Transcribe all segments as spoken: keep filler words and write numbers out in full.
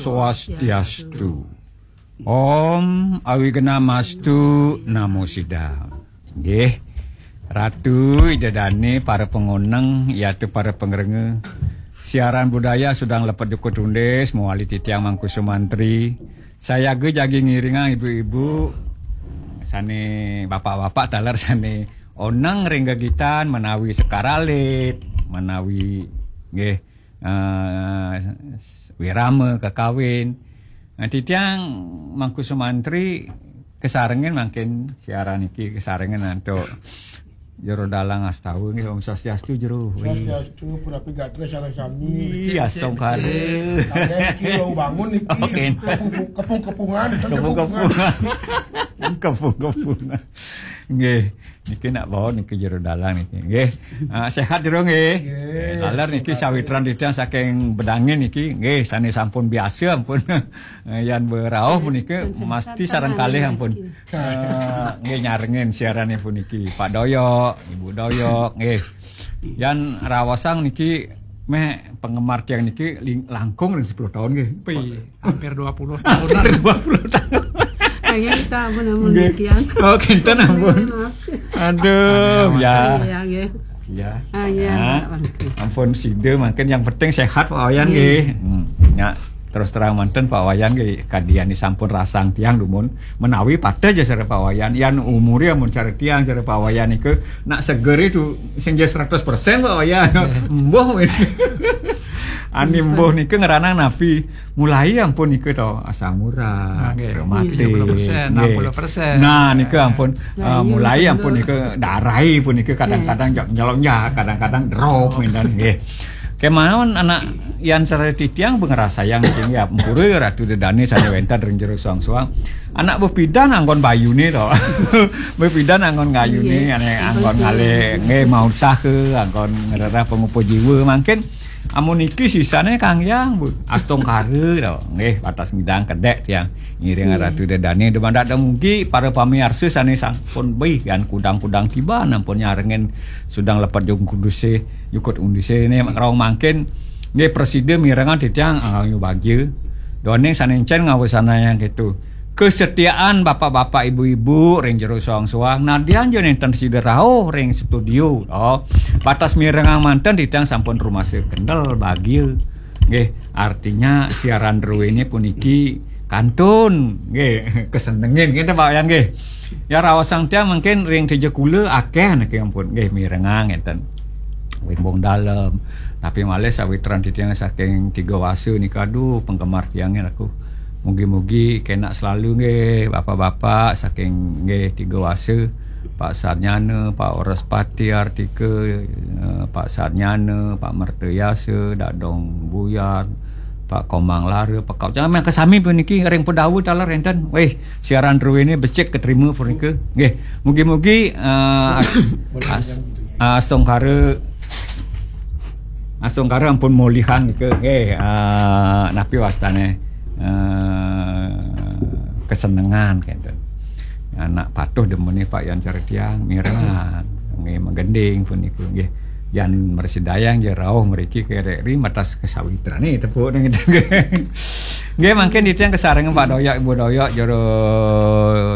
Swastiastu. Om Awighnamastu Namo Siddham. Nggih. Ratu, Ida Dane, para pangoneng, yatu para pangrengga. Siaran budaya sudang lepet jukut undis, mawali titiang Mangku Sumantri. Sayaga jagi ngiringang ibu-ibu sane, bapak-bapak taler sane oneng ring gegitan menawi sekar alit, menawi nggih, eh, wirama kakawin. Nah, titiang Mangku Sumantri kasarengin mangkin siaran iki kasarengin antuk Jero Dalang Astawa nggih, Om Swastiastu, Jero. Swastiastu, punapi gatra sareng sami. Iya, astungkara. Kalian iki wau bangun iki. Oke. Kepung-, kepung-kepungan, kan kepung-kepungan. Kepung-kepungan. Nggih, niki nak bawa niki Jero Dalang niki. Nggih. Ah, sehat, Jero, nggih. Nggih. Taler niki sawitran titiang saking Bedangin niki. Nggih, sane sampun biasa ampun. Eh, yan berauh punika mesti sareng kalih ampun. Eh, nggih, nyarengin siaran puniki. Pak Doyok, Ibu Doyok, nggih. Yan raosang niki meh penggemar tiang niki ling-, langkung ring sepuluh tahun nggih. Wih, hampir dua puluh tahun. Hampir dua puluh tahun. Kayaknya kita apa namanya nggih. Kian. Oh, kinten ampun. Maaf. Aduh, ya. Iya, nggih. Ya. Ah, iya, ah, Pak. Ampun sida mangkin yang penting sehat Pak Wayan nggih. Hmm. Ya, terus terang manten Pak Wayan nggih, kadian sampun rasang tiang dumun menawi pateh ja sareng Pak Wayan. Yan umure amun cara tiang sareng Pak Wayan niku nak seger itu sing ja seratus persen Pak Wayan. Mbuh. Ani mbuh niku ngranang napi? Mulai ampun niku to asam urat, ah, nggih, rematik, tiga puluh persen, nggih, enam puluh persen. Nah, niku ampun, nah, eh, iya, mulai bener. Ampun niku darai pun niku kadang-kadang jok nyelonjak, kadang-kadang drop, oh, ngenten nggih. Kemawon anak yan sareng titiang ngrasayang nggih ampura Ratu Dedane sane wenten ring jero soang-soang. Anak bepidan anggon bayune to. Bepidan anggon gayune, nggih, ane anggon ngalih nggih mau usaha, anggon ngrereh pangupa jiwa mangkin. Amun niki sisane Kang Yang, Bu. Astungkara to. Nggih, wates ngidang kedek tiang. Ngiring, nggih, Ratu Dedane dumadak dumugi para pamiarsa sane sampun bih yan kudang-kudang tiban ampun nyarengin sudang lepet jukut undise, jukut undise ne rauh mangkin. Nggih, prasida mirengang titiang angga bagya. Duaning sane encen ngawasanayang keto. Kesetiaan bapak-bapak, ibu-ibu ring jero soang-soang, nadyan ja nenten sida rauh ring studio, to. Wates mirengang manten titiang sampun rumasa kendel bagia. Nggih, artinya siaran druene puniki kantun, nggih, kesenengin, ngenten Pak Wayan nggih. Ya raosang tiang mangkin ring Tejekula akeh niki ampun, nggih, mirengang ngenten. Wimbung Dalem. Tapi malih sawitran titiang saking Tiga Wasa nika, aduh, penggemar tiangin aku. Mugi-mugi kenak selalu nggih, bapak-bapak saking nggih Tiga Wasa, Pak Sarnyana, Pak Wraspati Artika, eh, Pak Sarnyana, Pak Mertayasa, Dadong Buyar, Pak Komang Lara, Pak Kau. Jangan main kesami puniki ring Pedawa taler enten. Weh, siaran druene becik keterima punika. Nggih, mugi-mugi, eh, as-, as-, astungkara, astungkara ampun mulihan nika. Nggih, eh, napi wastane, eh, kesenengan kenten. Anak patuh demene Pak Yan Saretiang mirengan. Nggih, magending punika nggih. Yan mresidayang ja rauh mriki kerek ri matas kesawitrane tepuk nang itu. Nggih, mangkin titiang kasarengin Pak Doyok, Ibu Doyok, Jero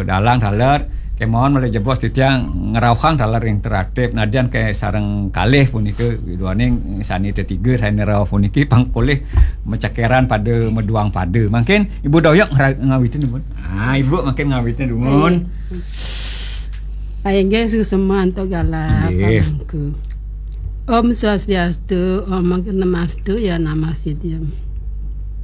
Dalang taler. Kemawon malih jebos titiang ngrauhang taler interaktif. Nadyan kasareng kalih punika duaning sane tetiga sane rauh puniki pang polih macekeran pada maduang pada. Mangkin Ibu Doyok ngra-, ngawitin dumun. Ah, Ibu mangkin ngawitin dumun. Nggih. Inggih, suksma antuk galah. Nggih. Pangku. Om Swastiastu, Om Namastu, ya Namasidham.